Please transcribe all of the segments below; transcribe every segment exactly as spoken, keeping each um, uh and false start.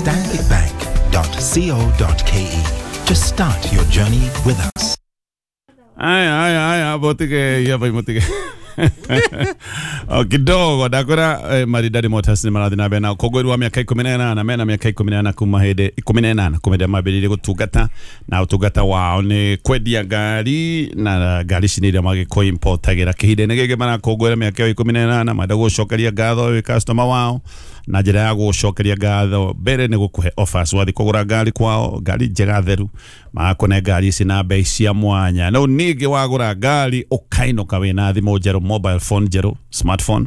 stanbic bank dot co dot k e to start your journey with us. Aya, aya, aya, botike, ya bai motike. O kidogo ndakora eh, Maridadi Motors nĩ marathiĩ na mbere na ũkũngũĩri wa mĩaka ikũmi na ĩnana mena mĩaka ikũmi na ĩnana kuma hĩndĩ ikũmi na ĩnana kuma hĩndĩ mambĩrĩirie gũtungata na ũtungata wao nĩ kwendia ngari na ngari ici nĩ iria magĩkũ-importagĩra kĩhinda-inĩ gĩkĩ marakũngũĩra mĩaka ĩyo ikũmi na ĩnana marenda gũcokeria ngatho wĩ customer wao na njĩra ya gũcokeria ngatho mbere nĩ gũkũhe offers wathiĩ kũgũra ngari kwao ngari njega theru magakũne ngari ici na bei cia mwanya no ningĩ wagũra ngari ũkainũka wĩna thimũ njerũ mobile phone njerũ smartphone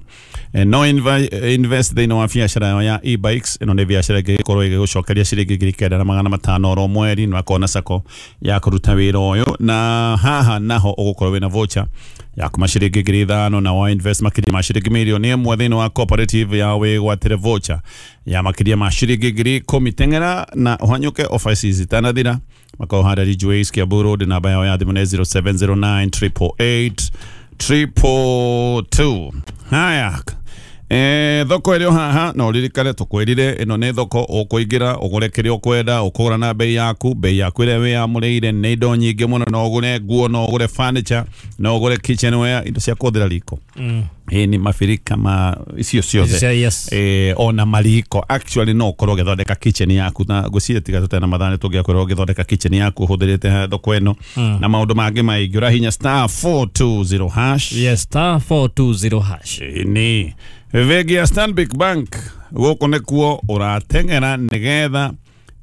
eh, no invi- invest thĩinĩ wa biacara yao ya e-bikes ĩno nĩ biacara ĩngĩgĩkorwo ĩgĩgũcokeria ciringi ngiri kenda na magana matano oro mweri na ũkona sacco ya kũruta wĩra ũyũ na haha naho ũgũkorwo wĩna voucher ya kuma ciringi ngiri ithano na wa invest makĩria ma ciringi mirioni ĩmwe thĩinĩ wa cooperative ya wĩgwatĩre voucher ya makĩria ma ciringi ngiri ikũmi teng'era na ũhanyũke offer ici zitanathira makorwo harĩa Ridgeways Kiambu Road namba yao ya thimũ nĩ zero seven zero nine triple eight triple two. Haya Eh, thoko ĩrĩ o haha na ũririkane tũkwĩrire ĩno nĩ thoko ũkũingĩra ũgũre kĩrĩa ũkwenda ũkũgũra na bei yaku bei yaku ĩrĩa wĩyamũrĩire nĩ indo nyingĩ mũno no ũgũre nguo no ũgũre furniture no ũgũre kitchenware indo cia kũhũthĩra riko mm. Ĩ nĩ mabirika ma icio ciothe Yes. eh, ona mariko actually no ũkorwo ũgĩthondeka kitchen yaku na ngwĩciria tiga tũtarĩ na mathaa nĩ tũngĩakorwo ũgĩthondeka kitchen yaku ũhũthĩrĩte thoko ĩno mm. na maũndũ mangĩ maingĩ ũrahinya star four two zero hash Yes, star four two zero hash. Ĩni bengi ya Stanbic Bank gũkũ nĩkuo ũrateng'era nĩgetha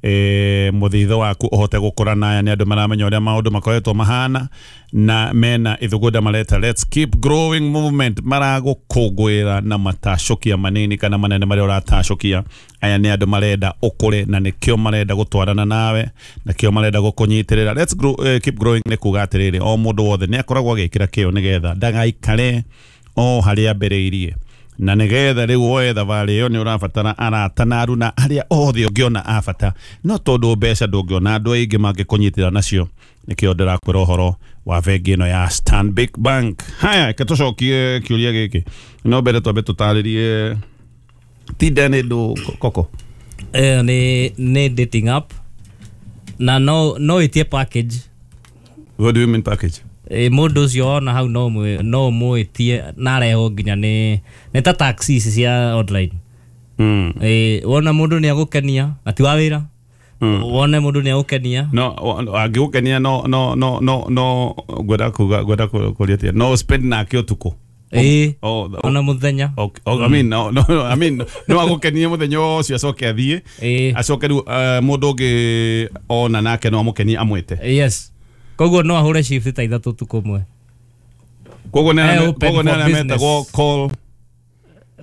eh, mũthitho waku ũhote gũkũra naya nĩ andũ maramenya ũrĩa maũndũ makoretwo mahana na mena ithugunda mareta let's keep growing movement maragũkũngũĩra na matacũkia manini kana manene marĩa ũratacũkia aya nĩ andũ marenda ũkũre na nĩkĩo marenda gũtwarana nawe nakĩo marenda gũkũnyitĩrĩra let's grow, eh, keep growing nĩ kuga atĩrĩrĩ o mũndũ wothe nĩ akoragwo agĩkĩra kĩo nĩgetha ndagaikare o harĩa ambĩrĩirie na nĩgetha rĩu woe thabarĩ ĩyo nĩ ũrabatara arata na aruna arĩa othe ũngĩona a bata no tondũ mbeca ndũngĩona andũ aingĩ mangĩkũnyitĩra nacio nĩkĩo ndĩrakwĩra ũhoro wa bengi ĩno ya Stanbic Bank. Haya reke tũcokie kĩũria gĩkĩ no mbere twambe tũtarĩrie Tinder nĩ ndũ koko Eh, nĩ nĩ dating app na no no ĩtie package. What do you mean package? E, mũndũ ũcio wona hau no mũ- no mũĩtie na arehwo nginya nĩ nĩ ta taxi ici cia online. Mm. E, wona mũndũ nĩ agũkenia na ti wa wĩra mm. Wone mũndũ nĩ agũkenia no angĩgũkenia no no no no no ngwenda kuga ngwenda kũria atĩa no spend nake ũtukũ ĩ oh, ona mũthenya okay. Oh, I mean, no, no, I mean, no agũkenie mũthenya ũcio acoke athiĩ ĩ acoke rĩu uh, mũndũ ũngĩ ona nake no amũkenie amwĩte yes koguo no ahũre shift ta ithatũ ũtukũ ũmwe koguo nĩ Eh, arĩa- open koguo nĩ for arĩa business. metagwo call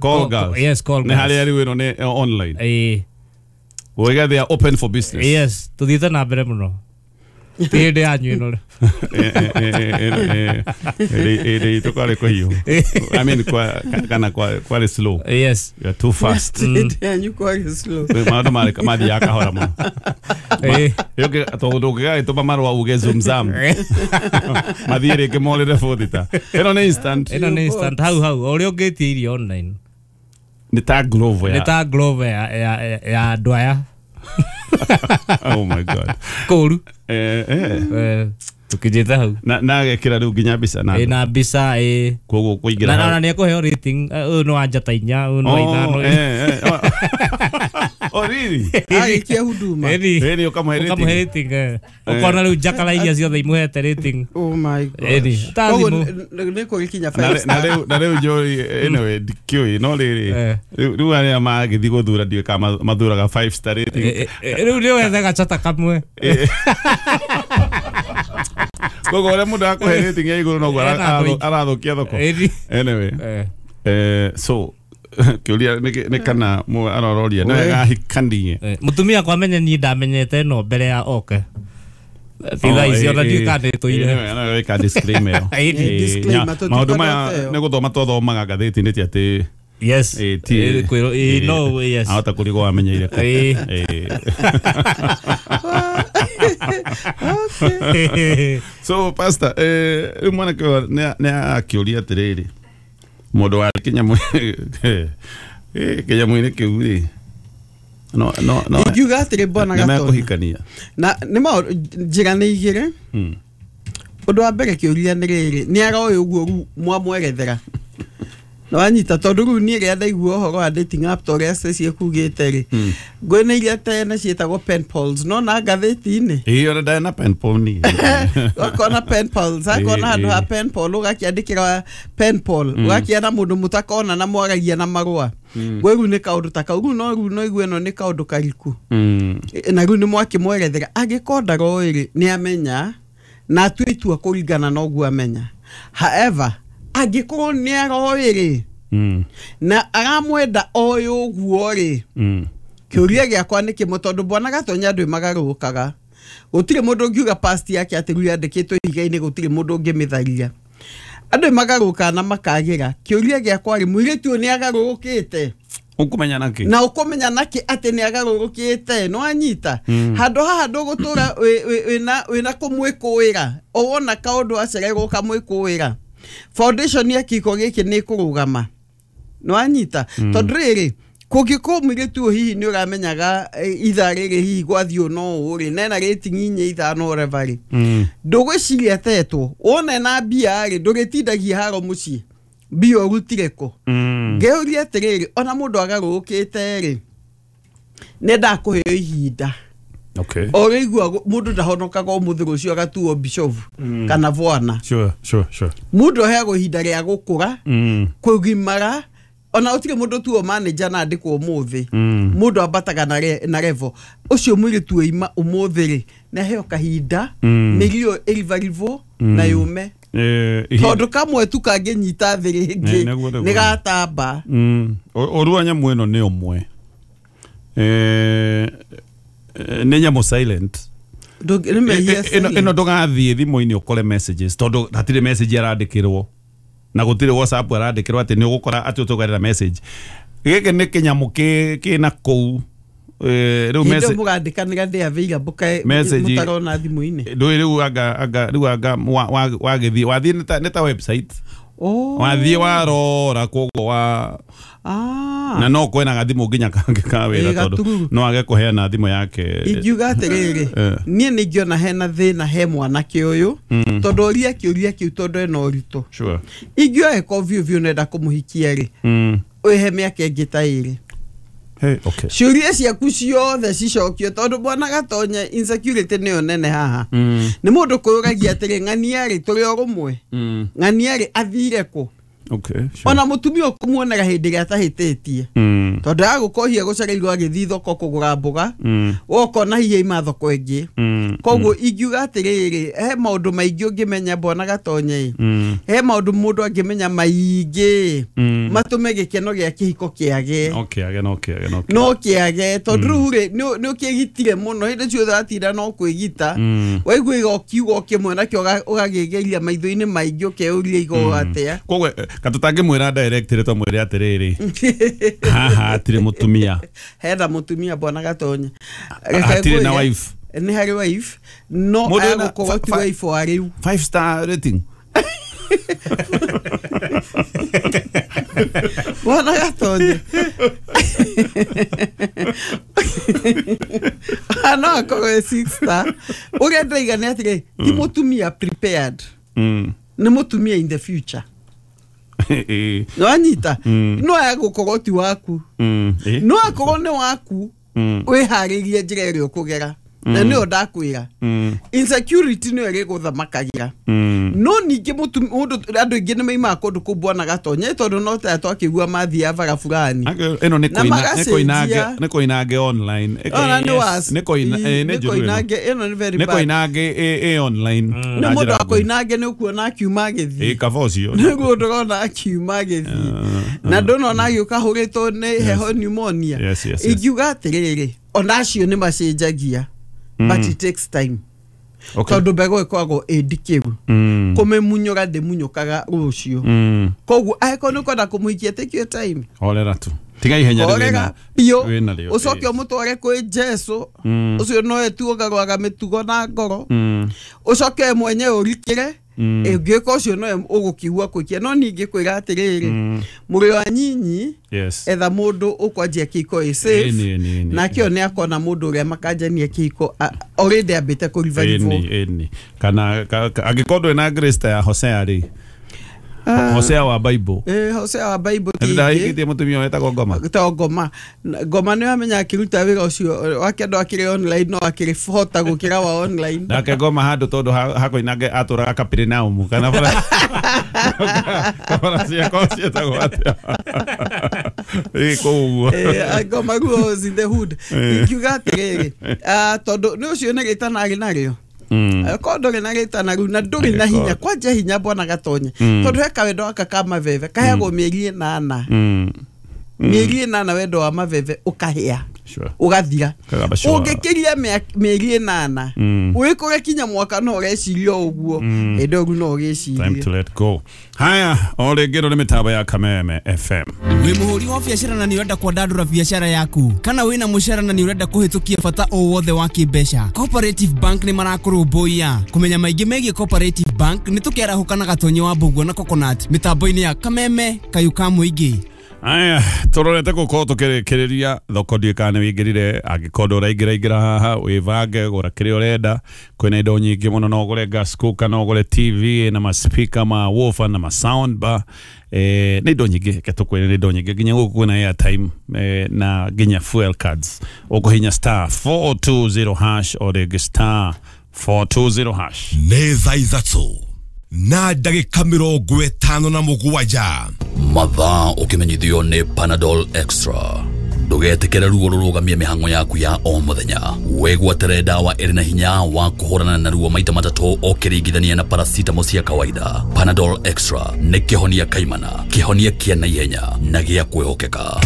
call Call- girls yes, call nĩ girls. harĩa rĩu ĩno nĩ eh, online ĩ Ũiga they are open for business yes tũthiĩte na mbere mũno ti hĩndĩ yanyu ĩno ĩrĩ itũ kwarĩ kũhiũ I mean kwa kana kwa kwarĩ slow yes you are too fast Hĩndĩ yanyu kwarĩ slow. maũndũ marĩ mathiaga kahora mũno ĩ tondũ ũngĩgagĩtũma marũa uge zoom zam mathiĩ rĩngĩ morĩre bũthita ĩno nĩ instant ĩno nĩ instant hau hau o ũrĩa ũngĩtia irio online nĩ ta Glovo nĩ ya ta Glovo ya ya ya andũ aya oh my god kũru eh eh Eh, tũkinyĩte hau na na agekĩra rĩu nginya mbica na ĩ na mbica ĩ koguo kũingĩra na hau. na nĩ ekũheo rating eh, ũyũ nĩ wa njata inya ũyũ nĩ wa Oh, ithano eh, eh, oh. Oh, really? Arĩkia huduma. Ĩni. Ĩni, ũkamũhe rating. Ũkamũhe rating, eh. Ũkona rĩu njakara iria ciothe imũhete rating Oh my god. Ĩni. Ta Koguo thimũ. nĩ- nĩ- nĩ kũgĩkinya na five rĩ- na star. rĩu na rĩu njũĩ anyway ndikĩũĩ no rĩrĩ Eh. rĩu rĩu arĩa magĩthiĩ gũthura ndiũĩ kana ma- mathuraga five star rating Eh, eh, rĩu nĩ wethe gacata kamwe koguo ũrĩa mũndũ akũhe rating ya igũrũ noguo ara- Ena andũ aingĩ. arathũkia thoko Ĩni. anyway Eh. eh, so kĩũria nĩ nĩ kana mũ arororia nĩ wega ahikanie Eh, mũtumia akwa amenye niĩ ndamenyete ĩno mbere ya oke ti thaa ici ona ndiũĩ kana nĩtũire ĩka disclaimer ĩyo. Ĩni. Eh, Disclaimer, nya- tũtikona maũndũ maya ĩyo. nĩ gũthoma twathomaga ngathĩti-inĩ ti atĩ yes eh, ti Eh, kwĩrwo- eh, no yes ahota kũrigwo wamenyeire kũ. Eh. Eh. Okay. So pastor eh, rĩu mwanake ũyũ nĩ nĩ akĩũria atĩrĩrĩ mũndũ wa kĩnyamũ eh, kĩnyamũ-inĩ kĩu rĩ No no no. Ingiuga atĩrĩ bwana Nĩ Gatonya mekũhikania. Na nĩ maũndũ njĩra nĩ igĩrĩ. Mm. Ũndũ wa mbere kĩũria nĩ rĩrĩ, nĩ aroĩ ũguo rĩu mwamwerethera na wanyita, tondũ rĩu niĩ rĩrĩa ndaigua ũhoro wa dating app ta ũrĩa Stacy ekugĩte rĩ, ngũĩ nĩ iria tene ciĩtagwo pen pals, no na ngathĩti-inĩ Ĩĩ ona ndarĩ na pen pal niĩ. Ũkona pen pals, akona handũ ha pen pal ũgakĩandĩkĩra pen pal, ũgakĩona mũndũ mũtakona na mwaragia na marũa. Ngũĩ rĩu nĩ kaũndũ ta kau, rĩu no rĩu no igue ĩno nĩ kaũndũ kariku. Mm. Na rĩu nĩ mwakĩmwerethera, angĩkorwo ndaroĩ rĩ, nĩ amenya na atue itua kũringana na ũguo amenya. However, angĩkorwo nĩ aroĩ rĩ, Mm. na aramwenda oĩ ũguo rĩ, Mm. kĩũria gĩakwa nĩ kĩmwe, tondũ bwana Gatonya andũ magarũrũkaga. Gũtirĩ mũndũ ũngiuga past yake atĩ rĩu yandĩkĩtwo ihiga-inĩ, gũtirĩ mũndũ ũngĩmĩtharia. Andũ magarũrũkaga na makagĩra. Kĩũria gĩakwa rĩ, mũirĩtu ũyũ nĩ agarũrũkĩte? Ũkũmenya nakĩ? Na ũkũmenya nakĩ atĩ nĩ agarũrũkĩte? Nĩ wanyita? Handũ haha ndũgũtũra wĩna wĩna kũmwĩkũĩra, o wona kaũndũ acererwo ũkamwĩkũĩra, foundation ya kĩhiko gĩkĩ nĩ ĩkũrũgama. Nĩ wanyita? Tondũ rĩrĩ, kũngĩkorwo mũirĩtu ũyũ hihi nĩ ũramenyaga ithaa rĩrĩ hihi gwathiĩ no ũũ rĩ, nena rating inya ithano whatever rĩ, ndũgwĩciria atetwo wona ena mbia rĩ, ndũrĩtindagia haro mũciĩ, mbia ũrutire kũ? Ngĩũria atĩrĩrĩ, ona mũndũ agarũrũkĩte rĩ, nĩendaga kũheo ihinda. Okay. O rĩigua mũndũ ndahonokaga ũmũthĩ rũciũ agatuo bishofu kana bwana. Sure, sure, sure. Mũndũ aheagwo ihinda rĩa gũkũra, Mm. kũgimara, ona gũtirĩ mũndũ tuo manager na andĩkwo ũmũthĩ. Mm. Mũndũ ambataga na re, na level. Ũcio mũirĩtu oima ũmũthĩ rĩ, nĩ aheo kahinda, Mm. mĩrio ĩribaribwo na yũme. Eh, ihinda- Tondũ kamwe tu kangĩnyita thĩ rĩngĩ Nĩ- nĩguo, nĩguo. nĩ gatamba. Mm. Ũru wa nyamũ ĩno nĩ ũmwe. Eh, nĩ nyamũ silent. Ndũngĩ- nĩ mehia Ĩno silent. ĩno ndũgathiĩ thimũ-inĩ ũkore messages, tondũ hatirĩ message arandĩkĩrwo na gũtirĩ WhatsApp arandĩkĩrwo atĩ nĩ ũgũkora atĩ ũtũgarĩra message. Gĩkĩ nĩ kĩnyamũ kĩ kĩna kũu. Eh, rĩu Hĩndĩ ĩyo message mũgandĩkanĩra ndĩ available kaĩ Message- mũtarona thimũ-inĩ. ndũĩ rĩu anga anga rĩu anga wa- wa- wagĩthiĩ wathiĩ nĩ ta nĩ ta website. Oh. Wathiĩ warora koguo wa Ah. na no kwena gathimũ nginya kangĩ ka wĩra Ĩ, tondũ gatururu. no age kũheana thimũ yake. Ingiuga atĩrĩrĩ, Eh. niĩ nĩ ingĩona hena thĩna he mwanake ũyũ, tondũ oria kĩũria kĩu tondũ ena ũritũ. Sure. Ingĩoya ko biũ biũ nenda kũmũhikia rĩ, Mm. wĩhe mĩaka ĩngĩ ta ĩrĩ. Hey, okay. Ciũria ciaku ciothe cicokio, tondũ bwana Gatonya insecurity nĩyo nene haha. Mm. Nĩ mũndũ kwĩyũragia atĩrĩ, ng'ania rĩ, tũrĩ o rũmwe, Mm. ng'ania rĩ athire kũ? Okay, sure. Ona mũtumia ũkũmuonaga hĩndĩ ĩrĩa atahĩtĩtie, Mm. tondũ agũkohia gũcereirwo agĩthiĩ thoko kũgũra mboga, Mm. ũkona hihi aima thoko ĩngĩ. Mm. Koguo ingiuga atĩrĩrĩ, he maũndũ maingĩ ũngĩmenya bwana Gatonya ĩ, Mm. he maũndũ mũndũ angĩmenya maingĩ Mm. matũme gĩkeno gĩa kĩhiko kĩage. Okay, age no kĩage no kĩage. No kĩage, tondũ rĩu rĩ, nĩ nĩ ũkĩgitire mũno hĩndĩ ciothe watinda no kwĩgita. Mm. Waigua iga kiugo kĩmwe nakĩo ũga- ũgagĩgeria maitho-inĩ maingĩ ũkeyũria iga atĩa. Koguo eh, katũtangĩmwĩra direct rĩ, twamwĩre atĩrĩrĩ, haha hatirĩ mũtumia. Hena mũtumia bwana Gatonya. Hatirĩ na wife. Nĩ harĩ wife, no Mũndũ wĩna agũkorwo ti fa- fa- wife wa rĩu. Five star rating. Bwana Gatonya no akorwo e six star. Ũrĩa ndĩraiga nĩ atĩrĩ, ti mũtumia prepared, Mm. nĩ mũtumia in the future. Eh. Nĩwanyita? Mm. No agũkorwo ti waku, Mm. Eh. no akorwo nĩ waku, Mm. wĩharĩrie njĩra ĩrĩa ũkũgera, na nĩyo ndakwĩra, Mm. insecurity nĩyo ĩrĩgũthamakagĩra. Mm. No ningĩ mũtu- mũndũ andũ aingĩ nĩ maimaga kũndũ kũu bwana Gatonya, tondũ no ta twakĩigua mathiaga bara fulani Ake- ĩno nĩ Na kũina- nĩ magacenjia. kũinange nĩ kũinange online. Ĩko- Ona nĩ was Nĩ kũina eh, nĩ nĩ njũru ĩno. koinange ĩno nĩ very Nĩ bad. kũinange ĩ ĩ online. Nĩ Na mũndũ njĩra wa nguhĩ. koinange nĩ ũkuona akiuma Ĩ agĩthiĩ, kaba ũcio. nĩguo ndũrona akiuma agĩthiĩ, na ndũnona agĩũka ahũrĩtwo nĩ heho pneumonia. Yes, yes, yes. Ingiuga atĩrĩrĩ, ona acio nĩ macenjagia, but it takes time, Okay. tondũ mbegũ ĩkoragwo ĩ ndikĩru, Mm. kũmĩmunyũra ndĩmunyũkaga rũciũ. Mm. Koguo angĩkorwo nĩ ũkwenda kũmũhikia, take your time. Horera tu. Tiga ihenya rĩu Horera wĩna- biũ, wĩna rĩo. ũcoke ũmũtware kwĩ Jesũ, Mm. ũcio nowe tu ũgarũraga mĩtugo na ngoro, Mm. ũcoke we mwenyewe ũrikĩre. Ũngĩka ũcio nowe ũgũkigua kũikia no ningĩ kwĩra atĩrĩrĩ mũrĩ wa nyinyi Yes. etha mũndũ ũkwanjia kĩhiko ĩ safe Ĩni, ĩni, ĩni. nake ũyũ nĩ akona mũndũ ũrĩa makanjania kĩhiko a- already ambĩte kũribaribwo. Ĩni, ĩni. Kana ka- ka- angĩkorwo ndũrĩ na grace ta ya Hosea rĩ, Hosea wa Bible. Eh, Hosea wa Bible ti ingĩ. Ndahikĩtie mũtumia wetagwo Ngoma. To ngoma ngoma nĩ wamenya akĩruta wĩra ũcio wake andũ akĩrĩ online no akĩrĩ hota gũkĩra wa online. Nake Ngoma handũ tondũ ha- hakoinange atũraga Kaperinaumu kana bara bara ciakwa ciĩtagwo atĩa? Ĩ kũu ũguo. Eh, ngoma rules in the hood. Eh. Ingiuga atĩrĩrĩ ah, tondũ nĩ ũcio nĩ rĩtana arĩ narĩo. Mm. Korwo ndũrĩ na rĩtana rĩu na ndũrĩ na hinya kwanja hinya bwana Gatonye tondũ he kawendo gaka ka maveve kaheagwo mĩeri ĩnana. Mm. Mĩeri ĩnana wendo wa maveve ũkahĩa Sure. ũgathira. Kagamba sure. Ũngĩkĩria mĩa- mĩeri ĩnana Mm. wĩkũre kinya mwaka no ũreciria o ũguo hĩndĩ ĩyo rĩu no Time ũgĩcirie. to let go. Haya, o rĩngĩ ĩno nĩ mĩtambo ya Kameme F M. Wĩ mũhũri wa biacara na nĩ ũrenda kwandandũra biacara yaku kana wĩna mũcara na nĩ ũrenda kũhĩtũkia bata o wothe wa kĩmbeca, Cooperative Bank nĩ marakũrũmbũiya. Kũmenya maingĩ megiĩ Cooperative Bank nĩ tũkĩarahũka na Gatonyi wa Mbũguo na Coconut mĩtambo-inĩ ya Kameme kayũ ka mũingĩ. Aya, tũrorete gũkorwo tũkĩrĩkĩrĩria thoko ndiũĩ kana nĩ wĩingĩrire angĩkorwo ndũraingĩra ingĩra haha wĩbange gũra kĩrĩa ũrenda kwĩna indo nyingĩ mũno no ũgũre gas cooker no ũgũre T V na ma speaker ma woofer na ma sound bar eh, nĩ indo nyingĩ reke tũkwĩre nĩ indo nyingĩ nginya gũkũ kwĩna airtime eh, na nginya fuel cards ũkũhinya star four two zero hash o rĩngĩ star four two zero hash. Nĩ thaa ithatũ na ndagĩka mĩrongo ĩtano na mũgwanja. Mathaa ũkĩmenyithio nĩ Panadol Extra. Ndũgetĩkĩre ruo rũrũgamie mĩhang'o yaku ya o mũthenya. Wĩgwatĩre ndawa ĩrĩ na hinya wa kũhũrana na ruo maita matatũ ũkĩringithania na paracetamol cia kawaida. Panadol Extra nĩ kĩhonia kaimana, kĩhonia kĩa naihenya na gĩa kwĩhokeka.